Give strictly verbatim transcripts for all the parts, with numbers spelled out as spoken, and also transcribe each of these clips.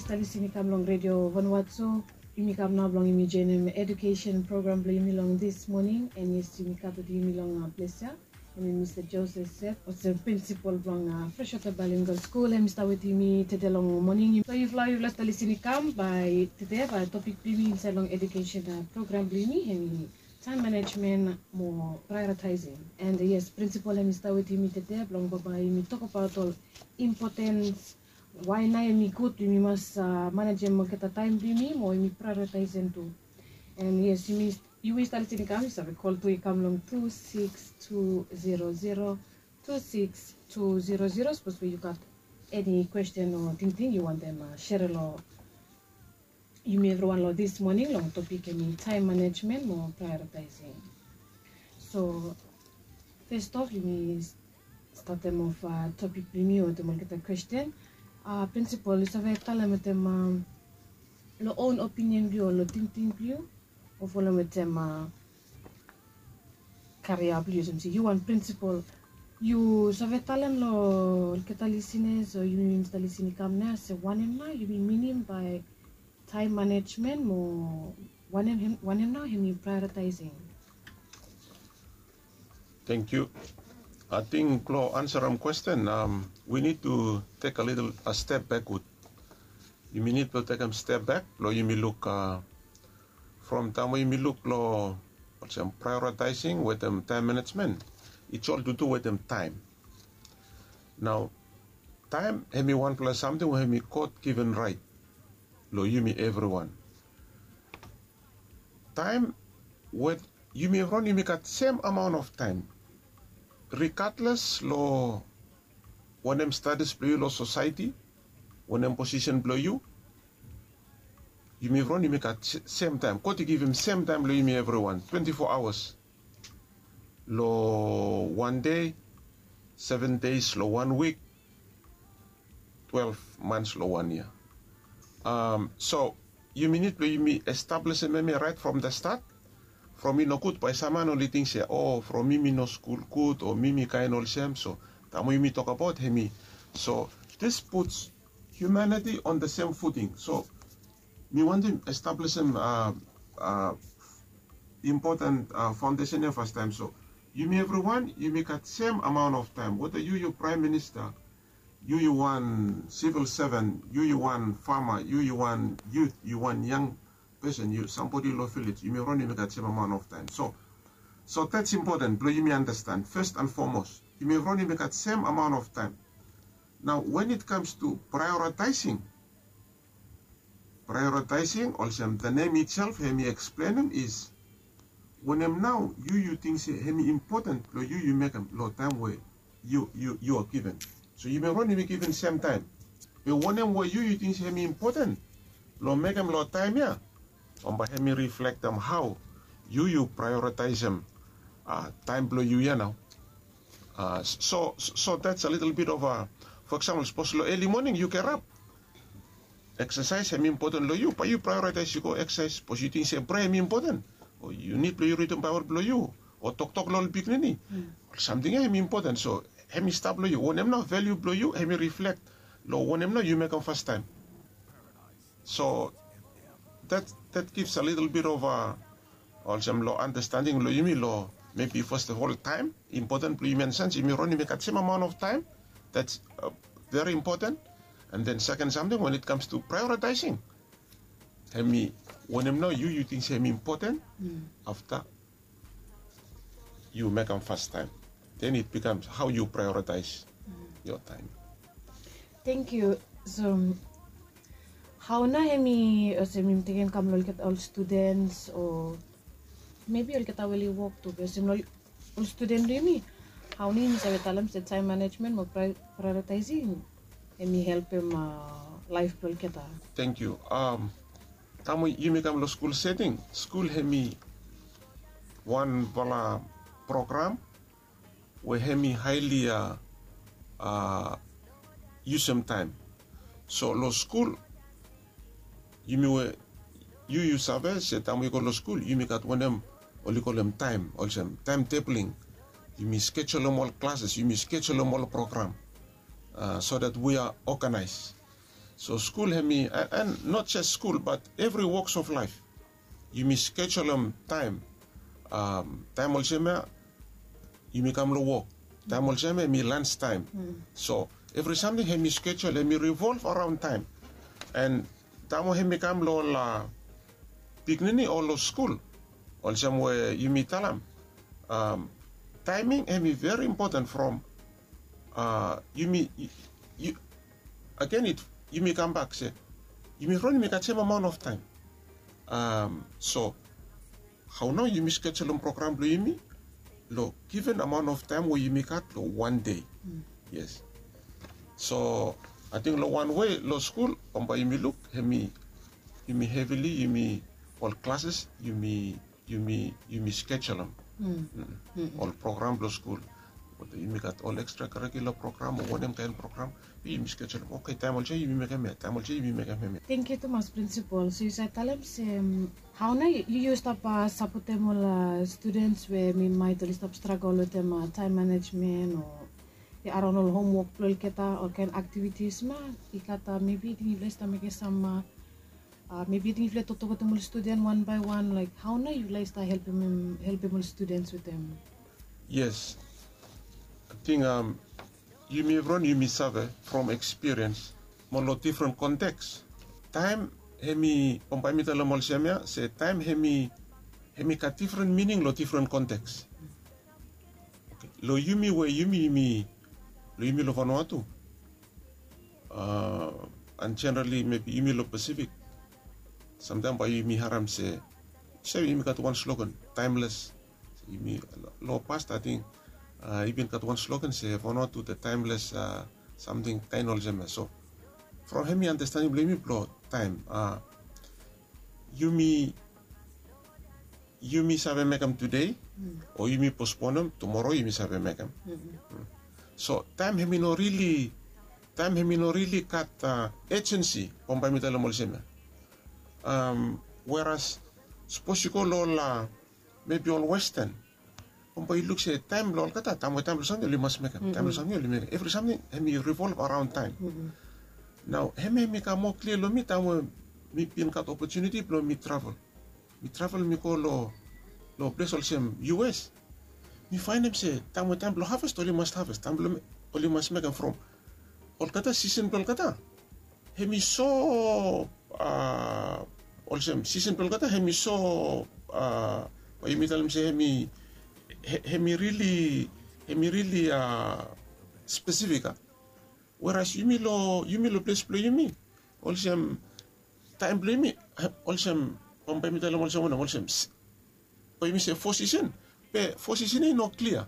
Stap lisin i kam long redio Vanuatu. Yumi kam nao blong yumi joinim edukesen program blong yumi long dis moning. And yes, yumi gat wetem yumi long ples ya, hemi Mista Joseph Seth, olsem prinsipol blong Freshwater Bilingual School. Hemi stap wetem yumi tede long moning. So yufala, yufala stap lisin i kam, bae tede bae topik blong yumi insaed long edukesen program blong yumi hemi taem manejmen mo prioritaesing. And yes, prinsipol hemi stap wetem yumi tede blong bambae yumi tokbaot ol impotens, wae nao hemi gud yumi mas manejem olgeta taem blong yumi mo yumi prioritaesem tu. And yes, yumi, yu we yu stap lisin i kam, yu save kol tu i kam long tu sikis tu zero zero, tu sikis tu zero zero, sapos we yu gat eni kwesten o tingting yu wantem serem long yumi evriwan long dis moning long topik hemi taem manejmen mo prioritaesing. So fes of yumi statem of topik blong yumi wetem olgeta kwesten. Prinsipol, yu save talem wetem long own opinion blong yu o long tingting blong yu, o folem wetem karia blong yu, olsem se yu wan prinsipol, yu save talem long olgeta lisinas o yumi, yumi stap lisin i kam nao se wanem nao yumi minim bae taem manejmen mo wanem, wanem nao hemi prioritaesing. Tangkiu. Ating blong ansarem kwesten, we nid tu tek a little a step bekod. Yumi nid blong tekem step bek blong yumi luk from taem we yumi luk long olsem prioritaesing wetem taem manejmen, it's all to do wetem taem. Nao taem hemi wanfala samting we hemi God given raet long yumi evriwan. Taem we yumi evriwan yumi gat sem amaon of taem, rigadles long wanem status blong yu long sosaeti, wanem posisen blong yu, yumi evriwan yumi gat sem taem. God i givim sem taem long yumi evriwan, twenti fo aoas long wan dei, seven deis long wan wik, twelef mans long wan yia. So yumi nid blong yumi establisim hemia raet from the start. From i nogud bae sam man oli ting se, o, from mi mi no skul gud o mi mi kaen olsem. So taem we yumi tokbaot hemi, so this puts humanity on the same footing. So mi wantem establisim impoten faondesen ya fastaem. So yumi evriwan yumi gat sem amaon of taem, weta yu yu praem minista, yu yu wan sivil seven, yu yu wan fama, yu yu wan yut, yu wan yang pesen, yu sambodi long vilej, yumi evriwan yumi gat sem amaon of taem. So so that's impoten blong yumi andastan fes and fomos, yumi evriwan yumi gat sem amaon of taem. Nao when it comes to prioritaesing, prioritaesing olsem the name itself hemi eksplenem is wanem nao yu yu ting se hemi impoten blong yu yu mekem long taem we yu yu yu are given. So yumi evriwan yumi given sem taem. Be wanem we yu yu ting se hemi impoten blong mekem long taem ya, bambae hemi riflektem hao yu yu prioritaesem taem blong yu ya nao. So so that's a little bit of a, for example, sapos long eli moning yu gerap, eksasaes hemi impoten long yu, bae yu prioritaes yu go eksasaes. Sapos yu ting se prea hemi impoten, o yu nid blong yu ridim Baebol blong yu o toktok long ol pikinini, ol samting ya hemi impoten. So hemi stap long yu, wanem nao valiu blong yu hemi riflek long wanem nao yu mekem fastaem. So that that gives a little bit of a, olsem long andastanding long yumi long maybe first of all taem, impoten blong yumi, and sens yumi evriwan yumi gat sem amaon of taem. That's very impoten. And then seken samting, when it comes to prioritaesing, hemi wanem nao yu yu ting se hemi impoten, afta yu mekem fastaem. Then it becomes how you prioritize your time. Tangkiu. So hao nao hemi olsem yumi tekem kam long olgeta ol studens o maybe olgeta we oli wok tu, be olsem long ol studen blong yumi, hao nao yumi save talem se taem manejmen mo prioritaesing hemi helpem laef blong olgeta? Tangkiu. Taem we yumi kam long skul seting, skul hemi wanfala program we hemi haeli yusum taem. So long skul yumi we yu yu save se taem we yu go long skul yumi gat wanem oli kolem taem, olsem taem tebling. Yumi skejulem ol klases, yumi skejulem ol program, so that we are organized. So skul hemi, and not jes skul bat evri woks of laif, yumi skejulem taem. Taem olsem ya yumi kam long wok, taem olsem ya hemi lans taem. So evri samting hemi skejul, hemi rivolv araon taem. And taem we hemi kam long ol pikinini o long skul, olsem we yumi talem, taeming hemi veri impoten from yumi, agen yumi kambak se yumi ron yumi gat sem amaon of taem. So hao nao yumi skejulem program blong yumi long given amaon of taem we yumi gat long wan dei. Yes. So ating long wan wei long skul bambae yumi luk hemi, yumi hevili yumi, ol klases yumi, yumi, yumi skejulem ol program blong skul. Yumi gat ol ekstra karikula program o wanem kaen program, yumi skejulem, oke, taem olsem yumi mekem ya, taem olsem yumi mekem hemia. Tengkiu tumas, Prinsipol. So yu save talem se hao nao yu, yu stap sapotem ol studens we mi maet oli stap stragol wetem taem manejmen o araon ol homwok blong olgeta, ol kaen aktivitis ma i gat, mebi ating yufala i stap mekem sam, mebi ating yufala i toktok wetem ol studen wan bae wan, laek hao nao yufala i stap helpem, helpem ol studens wetem? Yes. Ating yumi evriwan yumi save from ekspiriens mo long difren konteks. Taem hemi, bambae mi talem olsem ya se taem hemi, hemi gat difren mining long difren konteks. Long yumi we yumi, yumi, long yumi long Vanuatu, and jenerali mebi yumi long Pasifik, samtaem bae yumi harem se, se yumi gat wan slogan, taemles. Yumi, long past ating i bin gat wan slogan se Vanuatu the timeless something kaen olsem ya. So from hemi andastaning blong yumi blong taem, yumi, yumi save mekem tude o yumi posponem, tumoro yumi save mekem. So taem hemi no rili, taem hemi no rili gat ejensi, bambae mi talem olsem ya. Weras sapos yu go long ol, mebi ol Westan, bambae yu luk se taem blong olgeta, taem we taem blong samting oli mas mekem, taem blong samting oli mekem. Evri samting hemi rivolv araon taem. Nao hemia hemi kam moa klia long mi taem we mi bin gat opotuniti blong mi travel. Mi travel mi go long, long ples olsem U S. Mi faenem se taem we taem blong haves oli mas haves, taem blong oli mas mekem from olgeta, sisen blong olgeta hemi so, olsem sisen blong olgeta hemi so, bae yumi talem se hemi, hemi rili, hemi rili spesifik a. Weras yumi long, yumi long ples blong yumi, olsem taem blong yumi, olsem bambae mi talem olsem wanem, olsem bae yumi se fo sisen, be fo sisen ya i no klia.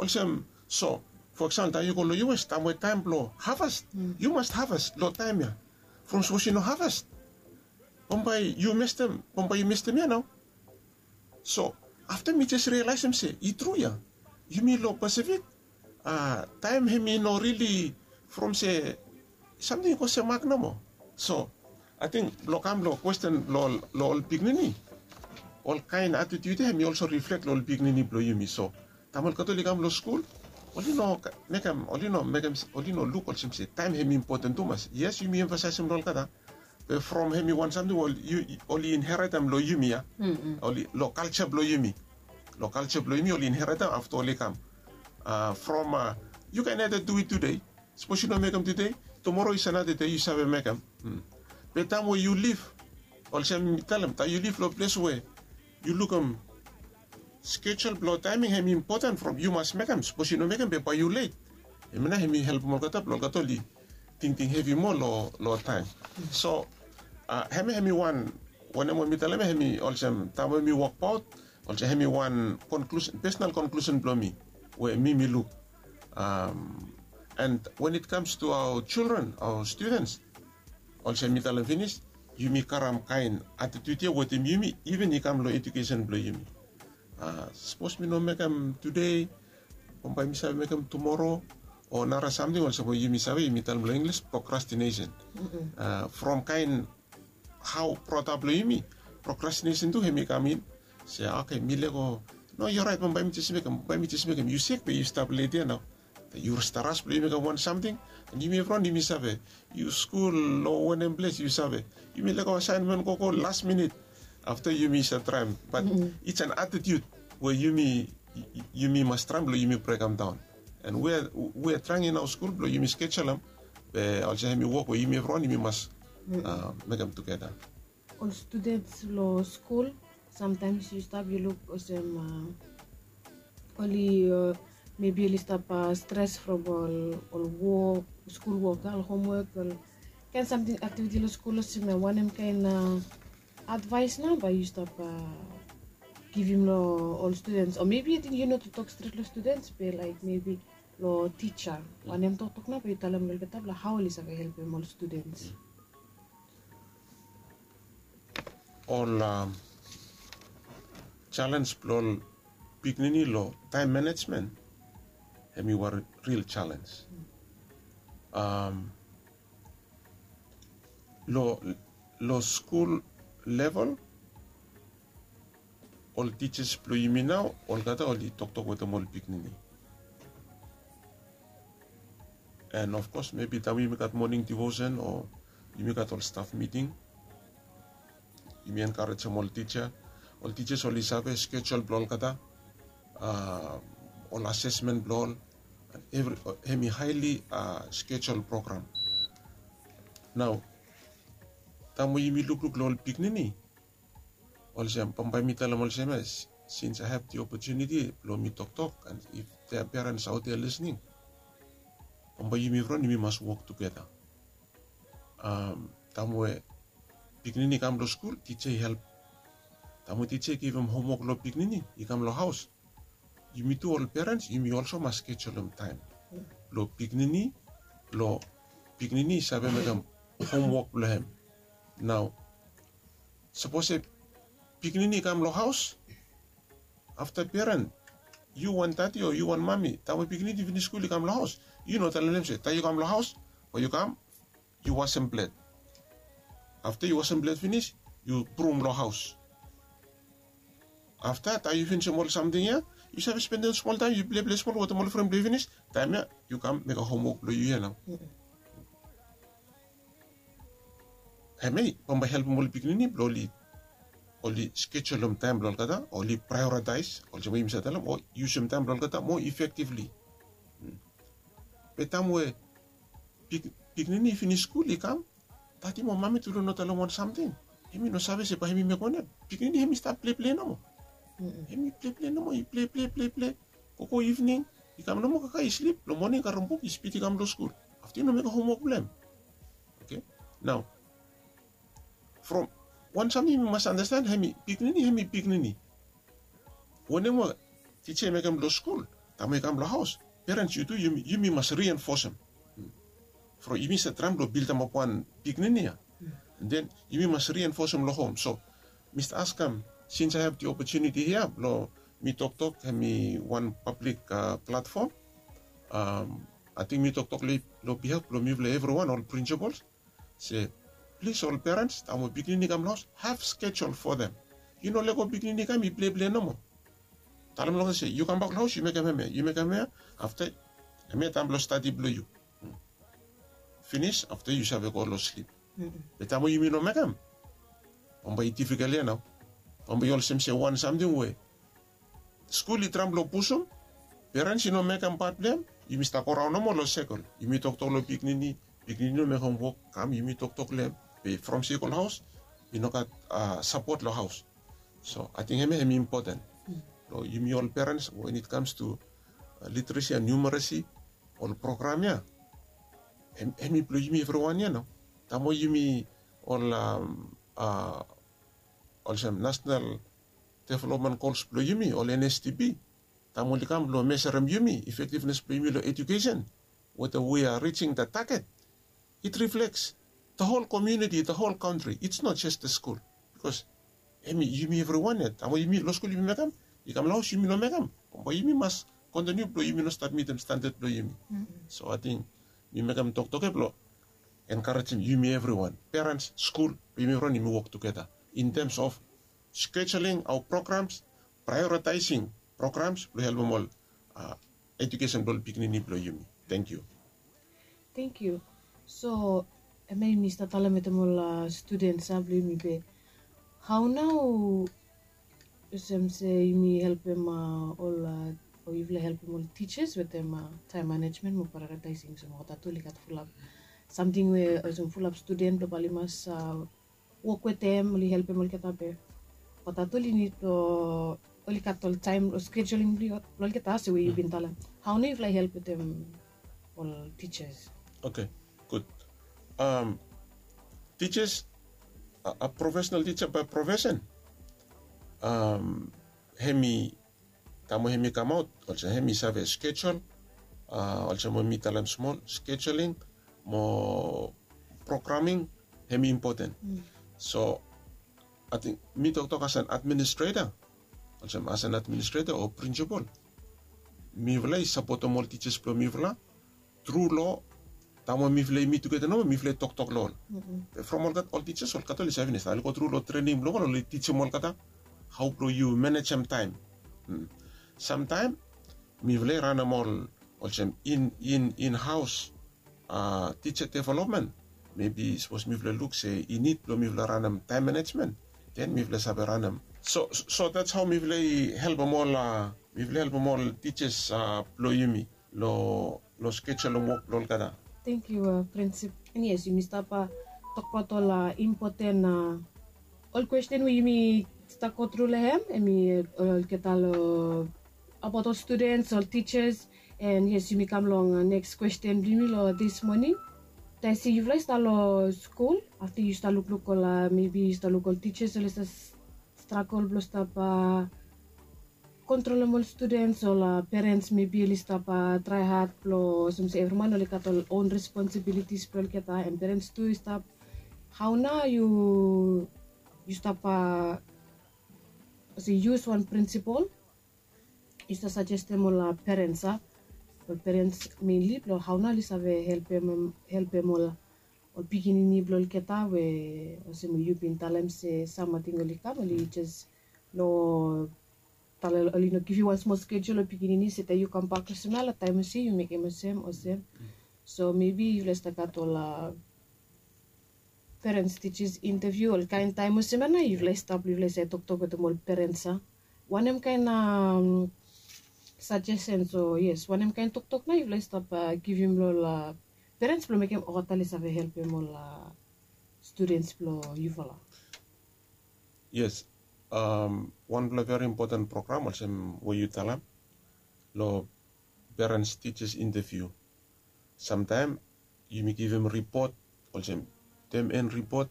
Olsem, so fo eksampol taem yu go long U S, taem we taem blong haves, yu mas haves long taem ya. From sapos yu no haves, bambae yu mestem, bambae yu mestem ya nao. So afta mi jes rialaesem se i tru ya, yumi long Pasifik, taem hemi no rili from se samting i go semak nomo. So ating blong kam long kwesten long ol pikinini, ol kaen atitiut ya hemi olso riflek long ol pikinini blong yumi. So taem olgeta oli kam long skul, oli no mekem, oli no mekem, oli no luk olsem se taem hemi impoten tumas. Yes, yumi emfasaesem long olgeta, be from hemi wan samting we oli inheretem long yumi ya. Oli long kalja blong yumi, long kalja blong yumi oli inheretem afta oli kam. From yu kaen aeda du it tude, sapos yu no mekem tude, tumoro is anada dei yu save mekem. Be taem we yu lif, olsem mi talem, taem yu lif long ples we yu lukim skejul blong taeming hemi impoten from yu mas mekem, sapos yu no mekem be bae yu let. Hemia nao hemi helpem olgeta blong olgeta oli tingting hevi moa long taem. So hemia hemi wan, wanem we mi talem ya hemi olsem taem we mi wokbaot, olsem hemi wan konklusen, pesonal konklusen blong mi we mi mi luk. And when it comes to our children, our students, olsem mi talem finis, yumi karem kaen atitiut ya wetem yumi, iven i kam long ejukesen blong yumi. Sapos mi no mekem tude, bambae mi save mekem tumoro, o nara samting olsem we yumi save, yumi talem long Inglis procrastination. From kaen hao brought up long yumi, procrastination tu hemi kam in. Se oke, mi lego. No, yu oraet, bambae mi jes mekem, bambae mi jes mekem. Yu sek be yu stap let ya nao. Yu stap ras blong yu mekem wan samting, and yumi evriwan yumi save. Yu skul long wanem ples yu save, yumi lego asaenmen gogo las minit. Afta yumi save traem, bat it's an attitude we yumi yumi mas traem blong yumi brekem daon. And we we traeng in aoa skul blong yumi skejulem be olsem hemi wok we yumi evriwan yumi mas mekem tugeta. Ol studens long skul, samtaems yu stap yu luk olsem oli mebi oli stap stres from ol ol wok, skul wok a ol homwok, ol kaen samting aktiviti long skul olsem wanem kaen advaes nao bae yu stap givim long ol studens o mebi ating yu no tu tok stret long studens be laik mebi long tija, wanem toktok nao bae yu talem long olgeta blong hao oli save helpem ol studens? Ol jalenj blong ol pikinini long taem manejmen, hemi wan ril jalenj. Long skul level, ol tijas blong yumi nao olgeta oli toktok wetem ol pikinini. And of kos mebi taem yumi gat moning divosen o yumi gat ol staf miting, yumi enkarejem ol tija. Ol tijas oli save skejul blong olgeta, ol asesmen blong ol, evri hemi haeli skejul program. Nao taem we yumi lukluk long ol pikinini, olsem bambae mi talem olsem ya, sins I have the opportunity blong mi toktok and if there are parents out there listening, bambae yumi evriwan yumi mas wok tugeta. Taem we pikinini i kam long skul, tija i help. Taem we tija i givim homwok long pikinini i kam long haos, yumi tu ol perens yumi olso mas skejulem taem blong pikinini, blong pikinini i save mekem homwok blong hem. Nao sapos se pikinini i kam long haos, afta peren, yu wan dadi o yu wan mami, taem we pikinini i finis skul i kam long haos, yu no talem long hem se taem yu kam long haos, bae yu kam yu wasem plet. Afta yu wasem plet finis, yu brum long haos. Afta taem yu finisim ol samting ya, yu save spendem smol taem yu pleple smol wetem ol fren blong yu finis, taem ya yu kam mekem homwok blong yu ya nao. Hemia bambae helpem ol pikinini blong oli skejulem taem blong olgeta, oli praeoritaes olsem we yumi save talem, o yusum taem blong olgeta moa efektivli. Be taem we pikinini i finis skul i kam, dadi mo mami tu long no talem wan samting, hemi no save se bae hemi mekem wanem. Pikinini hemi stap pleple nomo. Hemi pleple nomo, i pleple pleple, gogo ivning, i kam nomo kakae i slip, long moning i karem buk i spid i kam long skul. Afta i no mekem homwok blong hem. Oke, nao from wan samting yumi mas andasten, hemi pikinini hemi pikinini. Wanem we tija i mekem long skul, taem we i kam long haos, perens yu tu yumi mas rienfosem. From yumi save traem blong bildemap wan pikinini ya, and then yumi mas rienfosem long hom. So mi stap askem, sins I have the opportunity hia blong mi toktok, hemi wan pablik platfom, ating mi toktok long bihaf blong mifala evriwan ol prinsipols, se plis ol perens, taem we pikinini i kam long haos, have schedule for them. Yu no lego pikinini i kam i pleple nomo. Talem long hem se yu kambak long haos yu mekem hemia, yu mekem hemia. Afta hemia taem blong stadi blong yu. Finis afta yu save go long slip. Be taem we yumi no mekem, bambae i difikol ya nao. Bambae i olsem se wan samting we skul i traem blong pusum, perens i no mekem pat blong hem, yumi stap goraon nomo long sekol. Yumi toktok long pikinini, pikinini i no mekem wok, kam yumi toktok long hem, be from sekol haos i no gat sapot long haos. So ating hemia hemi impoten long yumi ol perens when it comes to literacy and numeracy, ol program ya hemi blong yumi evriwan ya nao. Taem we yumi ol olsem nasenal developmen gols blong yumi ol NSDP, taem oli kam blong meserem yumi efektivnes blong yumi long ejukesen, whether we are reaching the target, it reflects the whole community, the whole country. It's not just the school. Bikos hemi yumi evriwan ya, taem we yumi long skul yumi mekem, i kam long haos yumi no mekem, bambae yumi mas kontiniu blong yumi no stap mitim standad blong yumi. So ating mi mekem toktok ya blong enkarejem yumi evriwan, perens, skul, blong yumi evriwan yumi wok tugeta in terms of scheduling our programs, prioritizing programs blong helpem ol ejukesen blong ol pikinini blong yumi. Tengkiu. Tengkiu. So em ya yumi stap talem wetem ol studens a blong yumi be, hau nao olsem se yumi helpem ol o yufala helpem ol tijas wetem taem manejmen mo praeoritaesing olsem wata tu oli gat fulap samting we olsem fulap studen blong bae oli mas wok wetem oli helpem olgeta be wata tu oli nid blong oli gat ol taem o skejuling blong olgeta se we yu bin talem. Hau nao yufala help wetem ol tijas? Oke, gud. Tijas, a profesenal tija bae profesen, hemi taem we hemi kamaot olsem hemi save skejul. Olsem we mi talem smol, skejuling mo programing hemi impoten. So ating mi toktok as an administreta, olsem as an administreta o prinsipol, mifala i sapotem ol tijas blong mifala tru long taem we mifala i mit tugeta nomo mifala i toktok long ol. Be from olgeta ol tijas olgeta oli save finis taem oli go tru long trening blong ol oli tijim olgeta hau blong yu manejem taem. Samtaem mifala i ranem ol olsem in in in haos tija developmen. Mebi sapos mifala luk se i nid blong mifala ranem taem manejmen, den mifala save ranem. So that's hau mifala i helpem ol mifala i helpem ol tijas blong yumi long skejulem wok blong olgeta. Tengkiu, prinsip. An yes, yumi stap tokbaot ol impoten ol kwesten we yumi stap go tru long hem hemi olgeta long abaot ol studens ol tijas. An yes, yumi kam long neks kwesten blong yumi long dis moning. Taem se yufala i stap long skul afta yu stap lukluk ol mebi yu stap luk ol tijas oli stap stragol blong stap kontrolem ol studens ol perens mebi oli stap trae had blong olsem se evri man oli gat ol on responsibilitis blong olgeta an perens tu i stap. Hau nao yu yu stap olsem yus wan prinsipol yu stap sajestem ol perens a ol perens menli blong hau nao oli save helpem ol ol pikinini blong olgeta we olsem we yu bin talem se sam ating oli kam oli jes long talem oli no givim wan smol skejul long pikinini se taem yu kambak olsem ya long taem olsem yu mekem olsem olsem. So mebi yufala i stap gat ol perens tijas inteviu ol kaen taem olsem ya nao yufala i stap yufala i save toktok wetem ol perens a wanem kaen sajesen o yes wanem kaen toktok nao yufala i stap givim long ol perens blong mekem olgeta oli save helpem ol studens blong yufala? Yes. Wanpela veri impoten program olsem we yu talem long perens tijas inteviu. Samtaem yumi givim ripot olsem tem en ripot.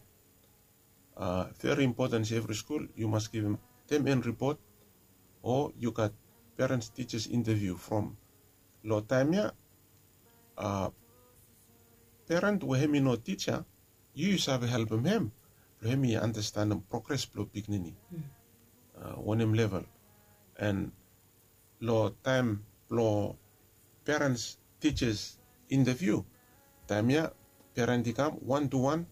Veri impoten se evri skul yu mas givim tem en ripot o yu gat perens tijas inteviu from long taem ya peren we hem i no tija yu yu save helpem hem blong hem i anastenem progres blong pikinini wanem level. An long taem blong perens tijas inteviu taem ya peren i kam wan tu wan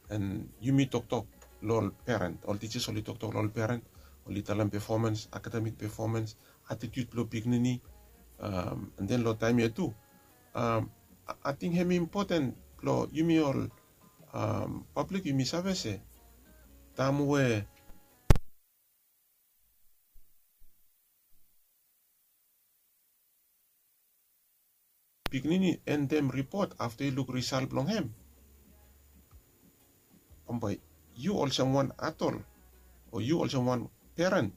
an yumi toktok long ol peren ol tijas oli toktok long ol peren oli talem pefomens akademik pefomens atitiut blong pikinini. An den long taem ya tu ating hem i impoten long yumi ol pablik yumi save se taem we pikinini endem ripot afta i luk risal blong hem bambae yu olsem wan atol o yu olsem wan peren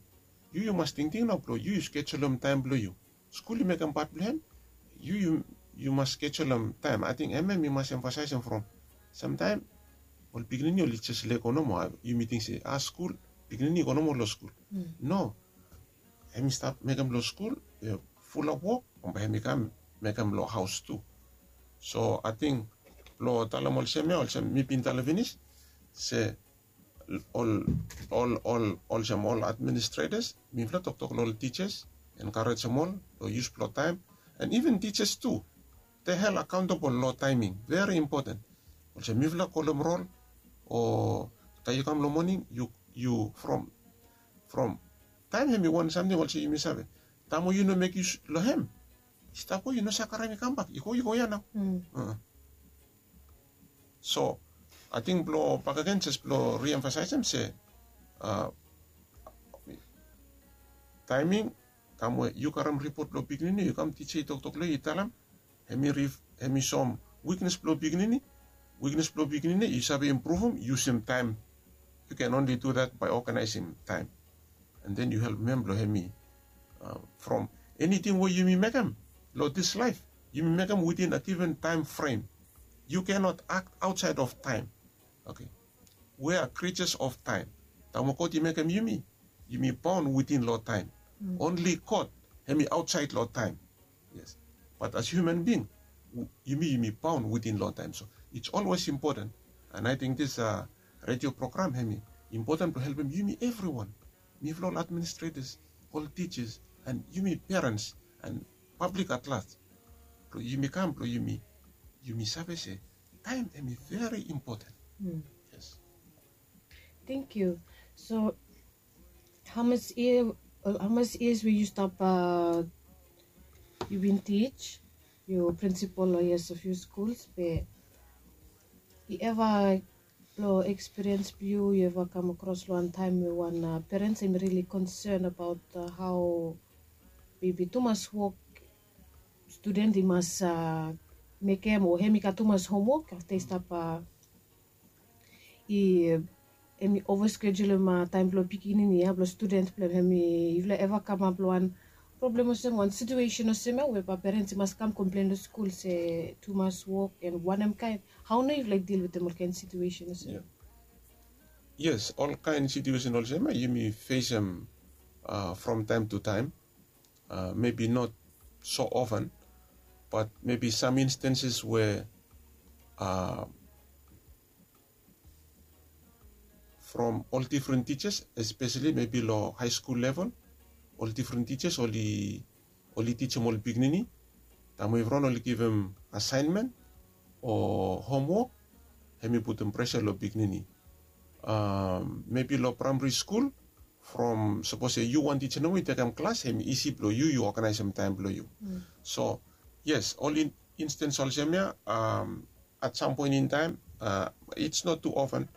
yu yu mas tingting nao blong yu yu skejulem taem blong yu skul i mekem pat blong hem yu yu mas skejulem taem ating em em i mas emfasaesem from samtaem ol pikinini oli jes lego nomo a yumi ting se a skul pikinini i go nomo long skul no em i stap mekem long skul fulap wok bambae em i kam mekem long haos tu. So ating blong talem olsem ya olsem mi bin talem finis se ol ol ol olsem ol administretas mifala toktok long ol tijas enkarejem ol long yus blong taem an iven tijas tu de hel akaontabol long taeming veri impoten. Olsem mifala kolem rol o taem yu kam long moning yu from from taem hem i wan samting olsem yumi save taem we yu no mek yus long hem stap go, yu no save karem i kambak, i go, i go ya nao. So ating blong bakegen jes blong riemfasaesem se taeming, taem we yu karem ripot blong pikinini, yu kam tija i toktok long yu, i talem, hem i soem wiknes blong pikinini. Wiknes blong pikinini yu save impruvum yusum taem. Yu ken onli du dat bae oganaesem taem. And then yu helpem hem blong hem i from eniting we yumi mekem long dis laef, yumi mekem witin a given taem frem. Yu kenot akt aotsaed of taem. Oke. We a kritias of taem. Taem we God i mekem yumi, yumi baon witin long taem. Onli God hem i aotsaed long taem. Yes. Bat as hiuman bing, yumi yumi baon witin long taem. So its olwes impoten. And ating dis redio program hem i impoten blong helpem yumi evriwan, mifala ol administretas, ol tijas, and yumi perens, and pablik at laj, blong yumi kam blong yumi save se taem hem i veri impoten. Yes. Tangkiu. So hamas yia, hamas yias we yu stap, yu bin tij, yu prinsipol long yias of yu skuls be i eva, long ekspiriens blong yu, yu eva kam akros long wan taem we wan perens hem i rili konsen abaot hao mebi tumas wok studen i mas mekem o hem i gat tumas homwok afta i stap i hem i ova skejulum taem blong pikinini ya blong studen blong hem. Hem i yufala eva kamap long wan problem olsem wan situesen olsem ya we bae perens i mas kam komplen long skul se tumas wok and wanem kaen, hao nao yufala i dil wetem ol kaen situesen olsem ya? Yes, ol kaen situesen olsem ya yumi fesem from taem tu taem. Mebi not so ofen, bat mebi sam instanses we from ol difren tijas, espeseli mebi long haeskul level, ol difren tijas oli tijim ol pikinini. Taem we evriwan oli givim asaenmen o homwok, hem i putum presa long pikinini. Mebi long praemari skul, from sapos se yu wan tija nomo i tekem klas, hem i isi blong yu, yu oganaesem taem blong yu. So yes, ol instens olsem ya at sam poen in taem, its not tu ofen,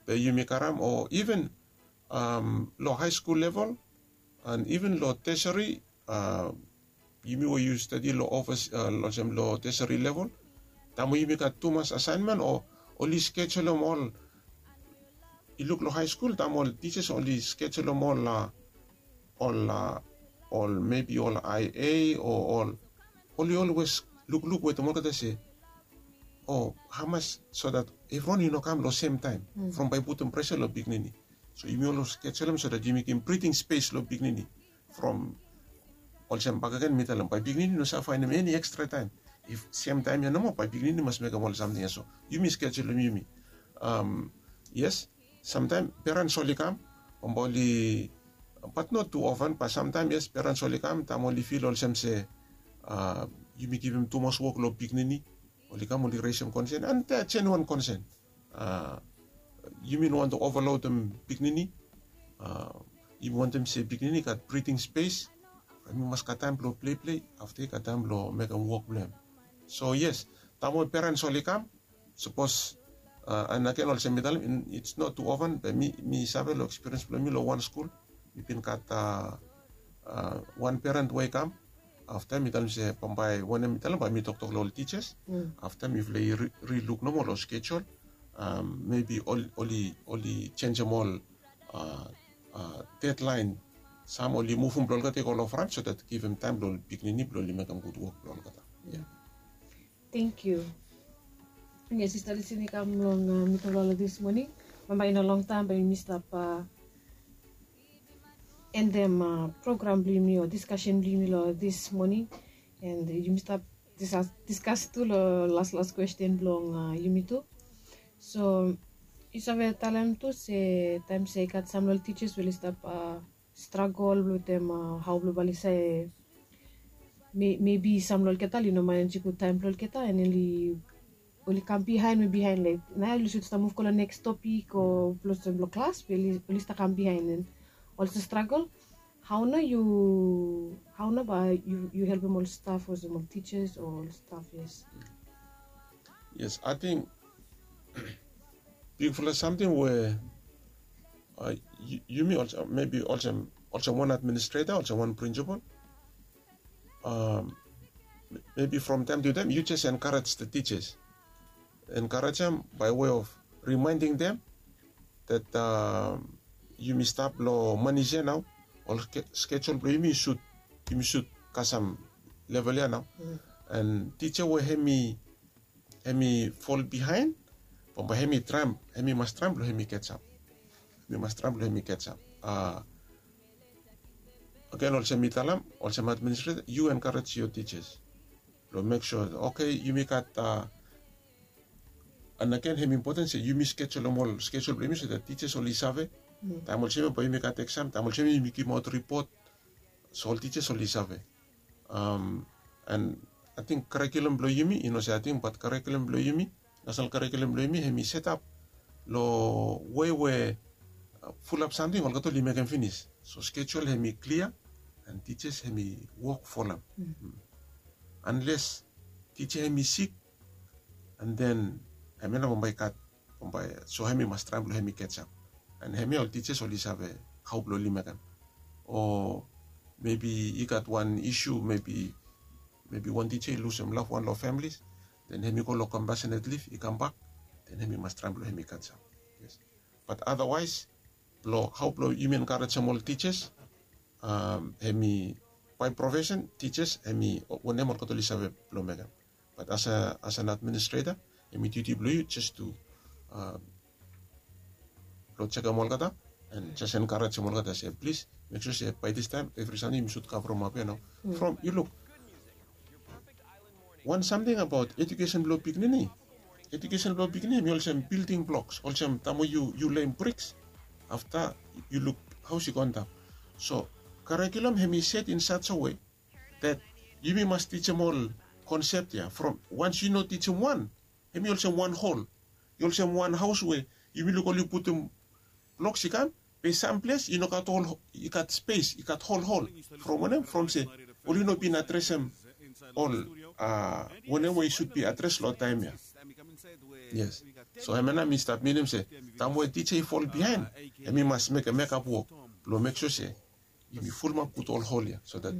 be yumi karem o iven long haeskul level and iven long tesari, yumi we yu stadi long ofis olsem long tesari level, taem we yumi gat tumas asaenmen o oli skejulum ol, i luk long haeskul taem ol tijas oli skejulum ol ol ol mebi ol ia o ol, oli olwes lukluk wetem olgeta se o hamas so dat evriwan i no kam long semtaem from bae i putum presa long pikinini. So yumi olwes skejulum so dat yumi givim briting spes long pikinini. From olsem bakegen mi talem bae pikinini i no save faenem eni ekstra taem. If semtaem ya nomo bae pikinini i mas mekem ol samting ya. So yumi skejulum yumi. Yes, samtaem perens oli kam, bambae oli, bat not tu ofen, bat samtaem yes perens oli kam taem oli fil olsem se yumi givim tumas wok long pikinini. Oli kam oli resem konsen and they are genuine konsen. Yumi no wantem ovalodim pikinini. Yumi wantem se pikinini i gat briting spes, hem i mas gat taem blong pleiplei, afta i gat taem blong mekem wok blong hem. So yes, taem we perens oli kam, sapos and agen olsem mi talem, its not tu ofen, be mi save long ekspiriens blong mi long wan skul, mi bin gat wan peren we i kam. Afta mi talem se bambae wanem mi talem bae mi toktok long ol tijas. Afta mifala i riluk nomo long skejul, mebi oli jenjem ol dedlaen, sam oli muvum blong olgeta i go long fran so dat givim taem blong ol pikinini blong oli mekem gud wok blong olgeta. Tangkiu. Yes, sista Lisin i kam long mitufala long dis moning. Bambae i no longtaem bae yumi stap endem program blong yumi o diskasen blong yumi long dis moning. And yumi stap diskas tu long laslas kwesten blong yumi tu. So yu save talem tu se taem se i gat sam long ol tijas we oli stap stragol wetem hao blong bae oli save, mebi sam long olgeta oli no manejem gud taem blong olgeta and oli kam bihaen we bihaen, laek naoia oli sud stap muv go long neks topik o blong olsem blong klas be oli stap kam bihaen and oli stap stragol. Hau nao yu, hau nao bae yu helpem ol staf olsem ol tijas o ol staf? Yes. Yes, ating bigfala samting we yumi olsem mebi olsem wan administreta, olsem wan prinsipol, mebi from taem tu taem yu jes enkarej the tijas, enkarejem by way of reminding them that yumi stap long manis ya nao. Ol skejul blong yumi sud, yumi sud kasem level ya nao. And tija we hemi fol bihaen, bambae hemi traem, hemi mas traem blong hemi ketsap. Hemi mas traem blong hemi ketsap. Agen olsem mi talem, olsem administreta yu enkarej yo tijas blong mek sua, oke, yumi gat, and agen hemi impoten se yumi skejulem ol skejul blong yumi so that tijas oli save taem olsem ya bae yumi gat eksam, taem olsem ya yumi givimaot ripot. So ol tijas oli save. And ating karikulum blong yumi, i no se ating bat karikulum blong yumi, nasenal karikulum blong yumi hemi setap long wei we fulap samting olgeta oli mekem finis. So skejul hemi klia and tijas hemi wok folem. Anles tija hemi sik, and then hemia nao bambae i gat, bambae so hemi mas traem blong hemi ketsap. And hemia ol tijas oli save hau blong oli mekem. O mebi i gat wan isu, mebi wan tija i lusum lafwan long families, then hemi go long compassionate leave, i kambak, then hemi mas traem blong hemi ketsap. Yes. Bat otherwise blong hau blong yumi enkarejem ol tijas, hemi by profession tijas hemi wanem olgeta oli save blong mekem. Bat as an administreta, hemi duti blong yu jes tu blong jekem olgeta and jes enkarejem olgeta se plis mek sua se bae distaem evri samting yumi sud kavremap ya nao. From yu luk wan samting abaot ejukesen blong pikinini. Ejukesen blong pikinini hemi olsem bilding bloks, olsem taem we yu leim briks, afta yu luk haos i go antap. So karikulum hemi set in such a way that yumi mas tijim ol konsep ya. From once yu no tijim wan, hemi olsem wan hol. I olsem wan haos we yumi luk oli putum bloks i kam, be sam ples i no gat ol, i gat spes, i gat hol hol. From wanem? From se oli no bin adresem ol wanem we i sud bin adres long taem ya. Yes. So hemia nao mi stap minim se taem we tija i fol bihaen, hemi mas mekem mekap wok blong mek sua se yumi fulumap gud ol hol ya so that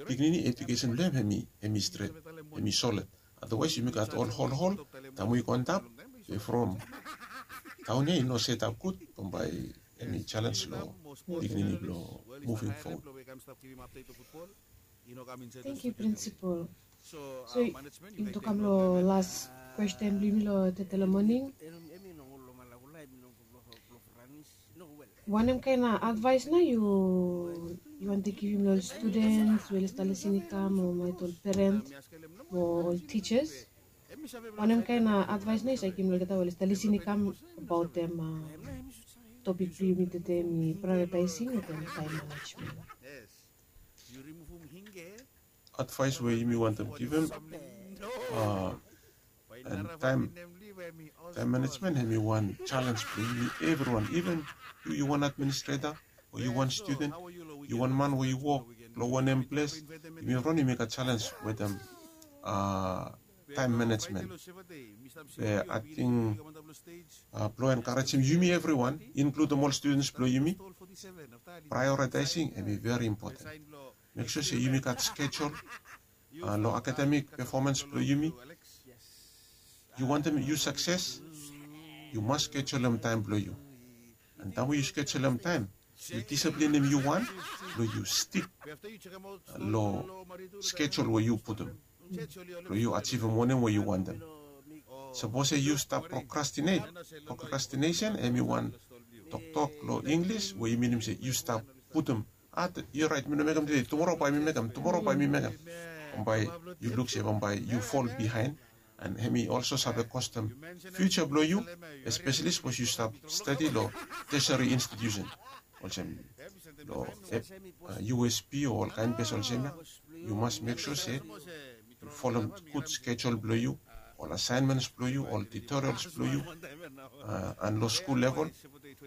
pikinini ejukesen blong hem hemi stret, hemi solid. Otherwise yumi gat ol hol hol, taem we i go antap, be from taon ya i no setap gud, bambae hemi jalens long pikinini blong moving forward. Thank you, Principal. So yumi kam long las kwesten blong yumi long tedei long moning. Wanem kaen advaes nao yu wantem givim long ol studens we oli stap lisin i kam, o maet ol perens o ol tijas? Wanem kaen advaes nao yu save givim long olgeta we oli stap lisin i kam abaot topik blong yumi tedei, hemi prioritaesing wetem taem manejmen? Advaes we yumi wantem givim, a, and taem, taem manejmen hemi wan jalens blong yumi evriwan. Iven yu, yu wan administreta, o yu wan studen, yu wan man we yu wok long wanem ples, yumi evriwan yumi gat jalens wetem, a, taem manejmen. Be ating, a, blong enkarejem yumi evriwan, inkludim ol studens blong yumi, prioritaesing hemi veri impoten. Mek sua se yumi gat skejul, a, long akademik pefomans blong yumi. Yu wantem yu sakses, yu mas skejulem taem blong yu. And taem we yu skejulem taem, yu disiplinim yu wan blong yu stik long skejul we yu putum blong yu ajivim wanem we yu wantem. Sapos se yu stap prokrastinet, prokrastinesen hemi wan toktok long Inglis we i minim se yu stap putum, a, yu oraet, mi no mekem tede, tumora bae mi mekem, tumora bae mi mekem. Bambae yu luk se bambae yu fol bihaen. And hemi olso save kostem fiuja blong yu, espeseli sapos yu stap stadi long tertiary institusen olsem long, a, U S P o olkaen ples olsem ya. Yu mas mek sua se yu folem gud skejul blong yu, ol asaenmens blong yu, ol tutorials blong yu, a, and long skul level,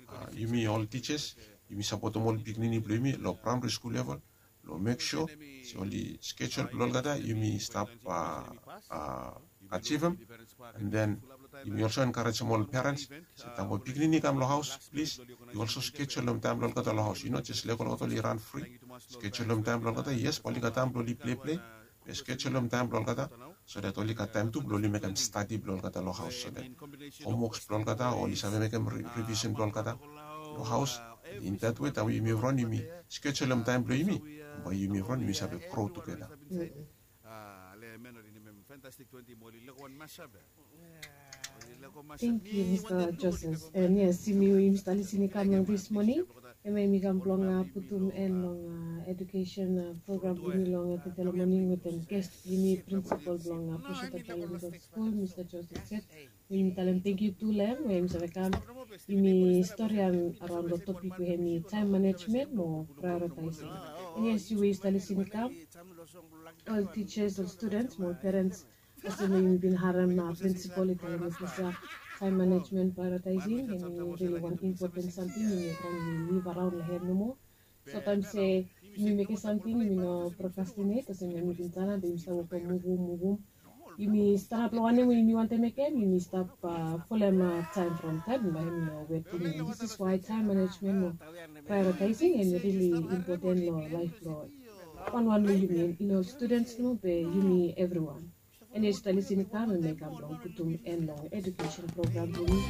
a, yumi ol tijas yumi sapotem ol pikinini blong yumi long praemari skul level, long mek sua se oli skejul blong olgeta yumi stap ajivim. And then yumi olso enkarejem ol perens se taem we pikinini i kam long haos, plis, yu olso skejulem taem blong olgeta long haos. Yu no jes lego olgeta oli ran fri. Skejulem taem blong olgeta. Yes, bae oli gat taem blong oli pleplei, be skejulem taem blong olgeta so dat oli gat taem tu blong oli mekem stadi blong olgeta long haos, so dat homwoks blong olgeta o oli save mekem rivisen blong olgeta long haos. In that way, taem we yumi evriwan yumi skejulem taem blong yumi, bae yumi evriwan yumi save gro tugeta. Thank you, Mr. Joseph. And yes, yumi, yumi stap lisin i kam long this morning. Hemia yumi kam blong putum en long education program blong yumi long tete long morning wetem guest blong yumi, principal blong Pusheta Bilingual School, Mr. Joseph Seth. Yumi talem thank you tu long hem we yumi save kam yumi storian araon long topik we hemi time management mo prioritizing. And yes, yu we yu stap lisin i kam, ol teachers, ol students mo ol parents, olsem we yumi bin harem principal i talem olsem ya, time management, prioritizing, hemi rili wan impoten samting yumi evriwan yumi liv araon long hem nomo. Somtaem se yumi mekem samting yumi no procrastinate, olsem yumi bin talem be yumi stap wokem muvum muvum. Yumi stanap long wanem we yumi wantem mekem, yumi stap folem taem from taem, bae hemi no wet yumi. This is why time management mo prioritizing hemi rili impoten long laef blong wanwan long yumi, i no students nomo be yumi evriwan. And yes, yu stap lisin i kam, hemi kam blong putum en long education program blong yumi.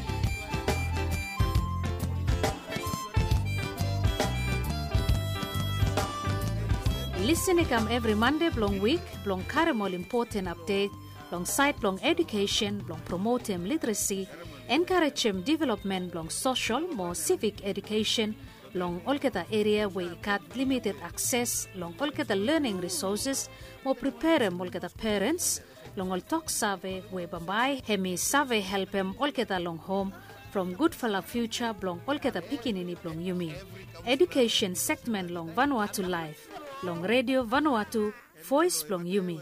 Lisin i kam evri Mande blong wik blong karem ol impoten apdet long saed blong edukesen blong promotem literesi, enkarejem developmen blong sosol mo sivik edukesen long olgeta eria we i gat limited akses long olgeta lening risoses, mo preperem olgeta perens long ol tok save we bambae hemi save helpem olgeta long hom from gudfala fiuja blong olgeta pikinini blong yumi. Edukesen segmen long Vanuatu Laef long Redio Vanuatu, Voes blong yumi.